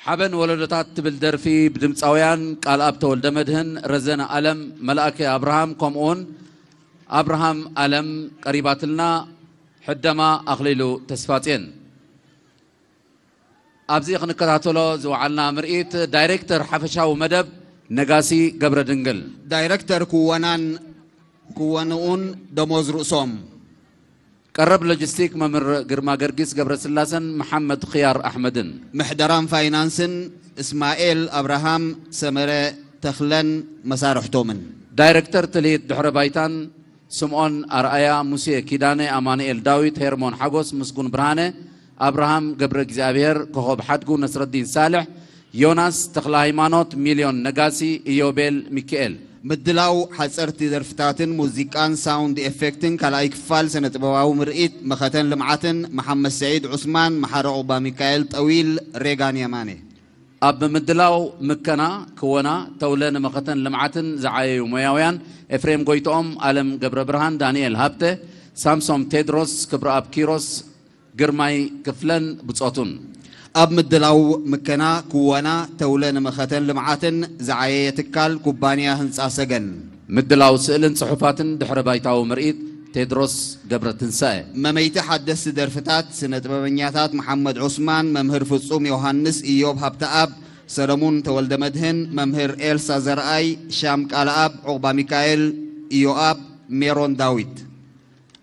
ሓበን ወለዶታት ትብል ደርፊ ብድምፃውያን ቃልኣብ ተወልደ መድህን፣ ረዘነ ኣለም፣ መልኣከ ኣብርሃም ከምኡውን ኣብርሃም ኣለም ቀሪባትልና። ሕደማ ኣኽሊሉ ተስፋጽዮን። ኣብዚ ክንከታተሎ ዝወዓልና ምርኢት ዳይሬክተር ሓፈሻዊ መደብ ነጋሲ ገብረ ድንግል። ዳይሬክተር ክወናን ክወንኡን ደሞዝ ርእሶም። ቀረብ ሎጂስቲክ መምህር ግርማ ገርጊስ ገብረስላሰን መሓመድ ኽያር ኣሕመድን። ምሕደራን ፋይናንስን እስማኤል ኣብርሃም ሰመረ ተኽለን መሳርሕቶምን። ዳይሬክተር ትልሂት ድሕረ ባይታን ስምኦን ኣርኣያ፣ ሙሴ ኪዳነ፣ ኣማኑኤል ዳዊት፣ ሄርሞን ሓጎስ፣ ምስጉን ብርሃነ፣ ኣብርሃም ገብረ እግዚኣብሔር፣ ኮኾብ ሓድጉ፣ ነስረዲን ሳልሕ፣ ዮናስ ተኽለ ሃይማኖት፣ ሚልዮን ነጋሲ፣ ኢዮቤል ሚካኤል። ምድላው ሓፀርቲ ደርፍታትን ሙዚቃን ሳውንድ ኤፌክትን ካልኣይ ክፋል ስነ ጥበባዊ ምርኢት መኸተን ልምዓትን መሓመድ ሰዒድ ዑስማን፣ መሓረ ዑባ ሚካኤል ጠዊል፣ ሬጋን የማነ። ኣብ ምድላው ምከና ክወና ተውለ ንመኸተን ልምዓትን ዝዓየዩ ሞያውያን ኤፍሬም ጎይትኦም፣ ኣለም ገብረ ብርሃን፣ ዳንኤል ሃብተ፣ ሳምሶም ቴድሮስ፣ ክብረኣብ ኪሮስ፣ ግርማይ ክፍለን ብጾቱን። ኣብ ምድላው ምከና ክወና ተውለ ንመኸተን ልምዓትን ዝዓየየ ትካል ኩባንያ ህንፃ ሰገን። ምድላው ስእልን ጽሑፋትን ድሕረ ባይታዊ ምርኢት ቴድሮስ ገብረትንሳኤ። መመይቲ ሓደስቲ ደርፍታት ስነ ጥበበኛታት መሓመድ ዑስማን፣ መምህር ፍጹም ዮሃንስ፣ ኢዮብ ሃብተኣብ፣ ሰለሙን ተወልደ መድህን፣ መምህር ኤልሳ ዘርኣይ፣ ሻም ቃልኣብ፣ ዑቕባ ሚካኤል፣ ኢዮኣብ፣ ሜሮን ዳዊት።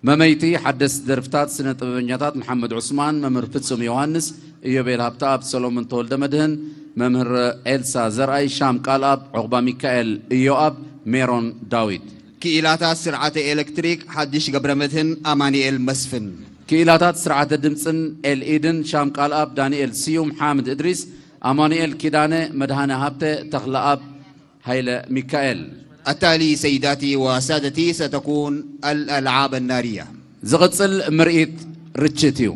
መመይቲ ሓደስቲ ደርፍታት ስነ ጥበበኛታት መሓመድ ዑስማን፣ መምህር ፍጹም ዮሃንስ፣ ኢዮቤል ሃብተኣብ፣ ሰሎሞን ተወልደ መድህን፣ መምህር ኤልሳ ዘርኣይ፣ ሻም ቃልኣብ፣ ዑቕባ ሚካኤል፣ ኢዮኣብ፣ ሜሮን ዳዊት። ክኢላታት ስርዓተ ኤሌክትሪክ ሓድሽ ገብረ መድህን ኣማኑኤል መስፍን። ክኢላታት ስርዓተ ድምፅን ኤልኢድን ሻም ቃልኣብ፣ ዳንኤል ስዩም፣ ሓምድ እድሪስ፣ ኣማኑኤል ኪዳነ፣ መድሃነ ሃብተ፣ ተኽለኣብ ሃይለ ሚካኤል። التالي سيداتي وسادتي ستكون الألعاب النارية. ዝቕጽል ምርኢት ርችት እዩ።